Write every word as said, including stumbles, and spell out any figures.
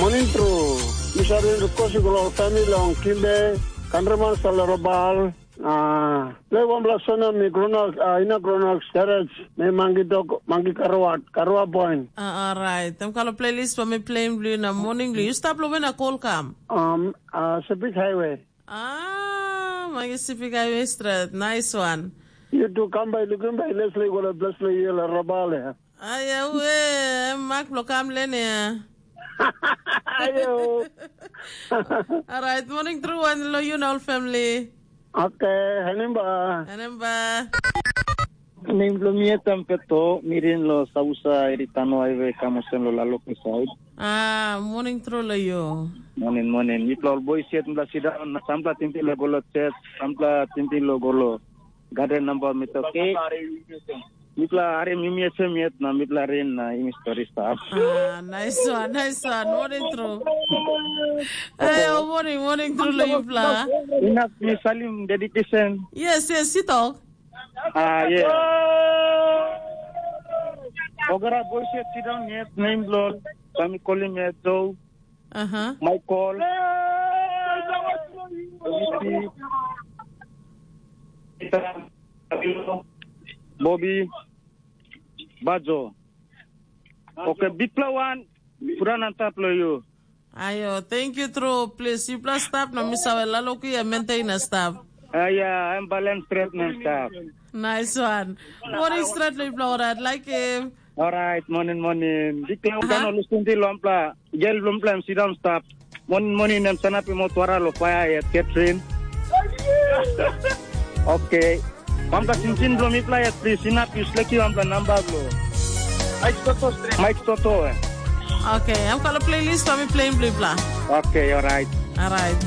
Moning tru. Mi save rikos i go long famili long Kimbe, Kandraman Salarabal. Ah, le wanpela sona mi gronak, ah, ina gronak garaj, me mangi dok, mangi karawat, karawa boin. Ah, alright. Em kalo playlist pa mi playing blue na morning blue. You stop lo when I call come. Um, ah, Sepik Highway. Ah, mangi Sepik Highway straight. Nice one. You do come by, looking by, let's like what a bless like you la rabale. Ai, aue, em mak bilong kam len ya. Ayo. Alright, morning tru wan lo you na ol family. Okay, hanim ba. Hanim ba. Nem bilong mi etam peto, mirin lo sausa eri tano aive kamosen lo laloki side. Ah, morning tru lo you. Morning, morning. Mipla ol boys yet mipla sit down, na sampla tintin lo golo church, sampla tintin lo golo garden number mi toke. Mipla harim yumi esem yet na mipla rin na yumi stori stap. Ah, nice one, nice one. Morning tru. Hey, oh, morning, morning tru lo yupla. Enough mi salim dedication. Yes, yes, you talk. Ah, yeah. Ogara boys yet sit down yet name blood. Kami kolim yet though. Aha. Michael, Lucy, Peter, Bobby, Bajo. Okay, bikpela wan, puran antap lo yu. Ayo, thank you tru. Please, yupela stap na mi save laloku ya maintain na stap. Ah, ya, em balance treatment stap. Nice one. Morning straight lo yupela, alright, like him. Alright, morning, morning. Bikpela udan ol lusunti lo ampla. Gel bilong pela em sidang stap. Morning, morning em sanap mo tuara lo fire ya Catherine. Okay. Pamta cincin bilong mipela ya please. Sinap yu sleki pamta namba bilong. Mike Toto. Mike Toto eh. Okay, em kalau playlist kami playing bla bla. Okay, alright. Alright.